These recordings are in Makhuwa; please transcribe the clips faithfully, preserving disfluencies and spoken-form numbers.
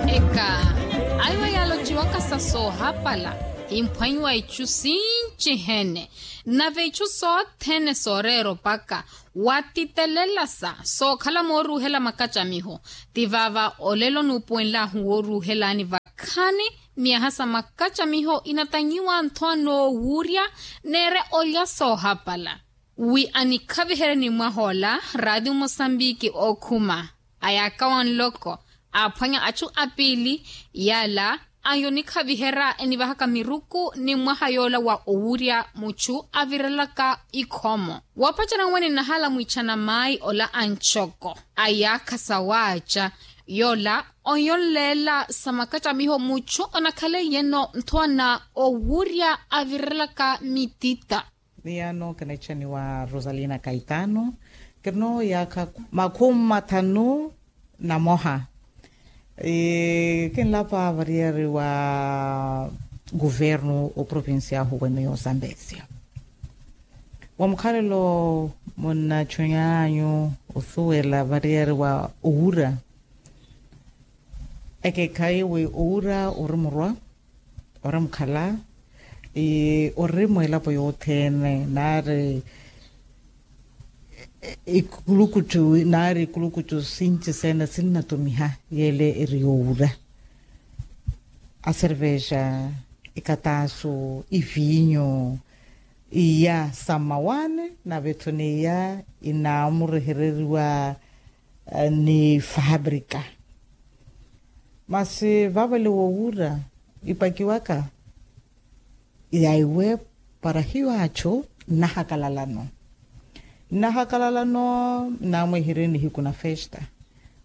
Eka aiwa yalociwaka sa soohapala, imphwanyiwa icu sinci hene, nave icu sothene sooreera opaka watitelela sa sookhala mooruuhela makacamiho. Ti vaava olelo nuupuwenlahu wooruuhelani vakhani, myaha sa makacamiho inatanyiwa nthowa noowurya neere olya soohapala. Wi anikhaviherye ni mwahoola, raatiyo mosambiki ookhuma, ayaakawa nloko, aaphwanya achu apiili. Yaala ayo nikhaviherya enivahaka miruku ni mwaha yoola wa owurya muchu avirelaka ikhomo. Wapacerya nwe ninahala mwichana maayi ola a ncoko, ayaakha sawaaca yoola, oyo nleela sa makacamiho muchu onakhaleiye-no nthowa na owurya avirelaka mitita. Miyaano kinaichaniwa rosalina kaitano, kirino yaakha makhumi mathanu na moha. Kinlapa variyari wa kuvernu oprovincial huweno y'osambezia wa mukhalelo munnachunyanyu osuwela variyari wa owura. Ekeekhayi wi owura ori murwa, ori mukhala, ori mwilapo yothene naari ikulukucu naari ikulukucu sinci sene sinnatumiha yeele eri yowura. Aservexa, ikataasu, iviinyo, iya sa mmawaani nave-tho n'iya inaamurehereriwa ni fabrika. Masi vaavale wowura ipakiwaka yaiwe para hiyo achu nnahakalalano nnahakalalano. Nnaamweherye nihiku na festa.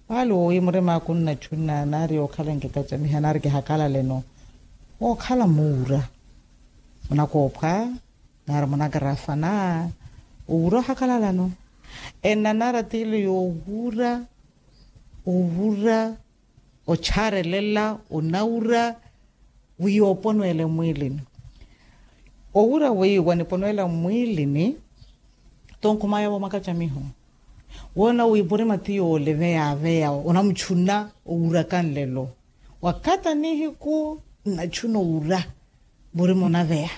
Vaale wowi murim'aku nnachuna naari yookhala nkikacamiha naari kihakalaleno wookhala muura munakoophwa naari munakarafa na owura ohakalalano. Ennanara tiile yoowura owura ocharelela onawura wi yooponwele mmwiilini. Owura wi waniponwela mmwiilini tonkhumaya vomakacamiho woona wi murima ti yoole veyaaveya onamuchuna owuraka nlelo. Wakata nihiku nnachuna owura murima onaveya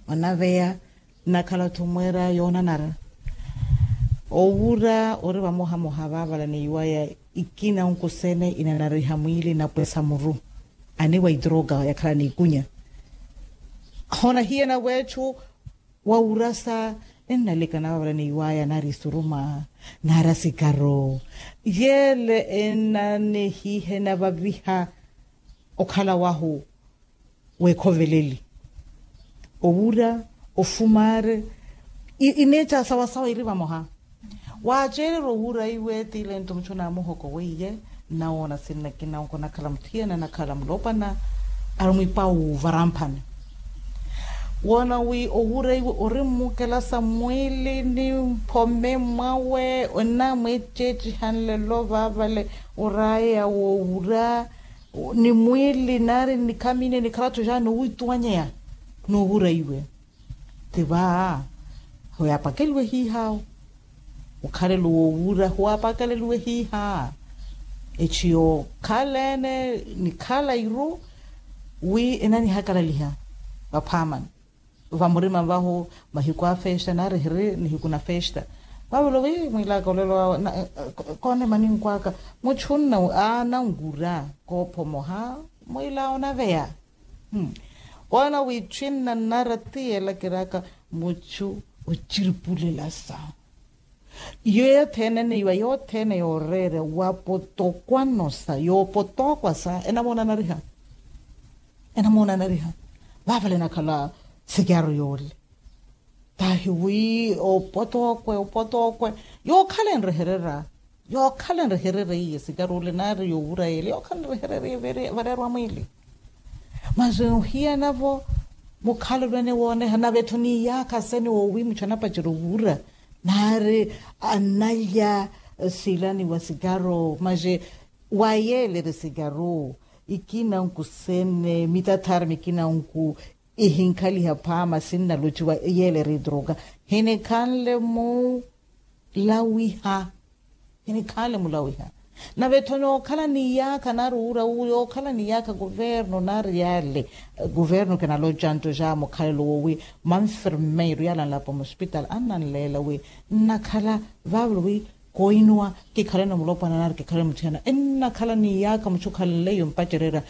onaveya nnakhala-tho mweera yoonanara. Owura ori vamohamoha vaavala neiwaya ikina onkusene inanariha mwiili napwesa muru aniwa itroka yakhala n'ikunya. Hoona hiyana weetthu wawurasa ennalekana vaavala neiwaya naari isuruma naari asikaro yeele enanihihe navaviha okhala wahu. Weekhoveleli owura ofumaari ineeca sawasawa iri vamoha. Waaceererya owura iwe tiile nto muchu naamuhoko weiye nnawoona sinnakina onkonakhala muthiyana nakhala mulopana ari mwipa wuvaramphani. Woona wi owura iwe ori mmukelasa mmwiili ni mphome mwawe onamweeceeciha nlelo vaavale oraya wowura ni mwiili naari nnikhamine nikhala-tho jaani owituwanyeya. N'uhura iwe ti va hoyaapakeliwe hiihaawo. Mukhalelo wowura howaapakeliwe hiihaa. Echi yookhala ene nikhala iru wi enanihakalaliha vaphaamani vamurima vahu mahiku a festa naari hiri nihiku na festa. Vavelo vi mwiilaka olelo awe koonema ninkwaka muchu nna ananwura koophomoha mwiila onaveya. Woona wiitthu innanara ti yeela kiraka muchu ociripulelasa iyo yothene neiwa yothene yooreera wapotokwanosa yoopotokwasa enamoonanariha enamoonanariha. Vaavale nakhala sikyaru yoole tahi wi opotokwe opotokwe yookhala enreherera yookhala enreherera iye sikyaru ole naari yowura yeele yookhala enreherera iye vareerwa mwiili. Masi ohiyanavo mukhalelo ene wooneha nave-tho niyaakha sene woowimucha anapacerya owura naari analya silani wa sikyaru masi wayeelere sikyaru ikina nkusene mitathaari mikina nku ihinkhaliha phaama sinnalociwa yeelere itroka hinikhanle mulawiha hinikhanle mulawiha. Nave-tho nookhala ni iyaakha nari uura wu yookhala ni iyaakha kuvernu nari yale. Kuvernu kinaloca nto ja mukhalelo wowi manfermeiru yale anlapo musipitali annanleela wi nnakhala vaavulu wi koinuwa kikhaleno mulopwana nari kikhaleno muthiyana ennakhala ni iyaakha muchu khalenleiyo mpacererya.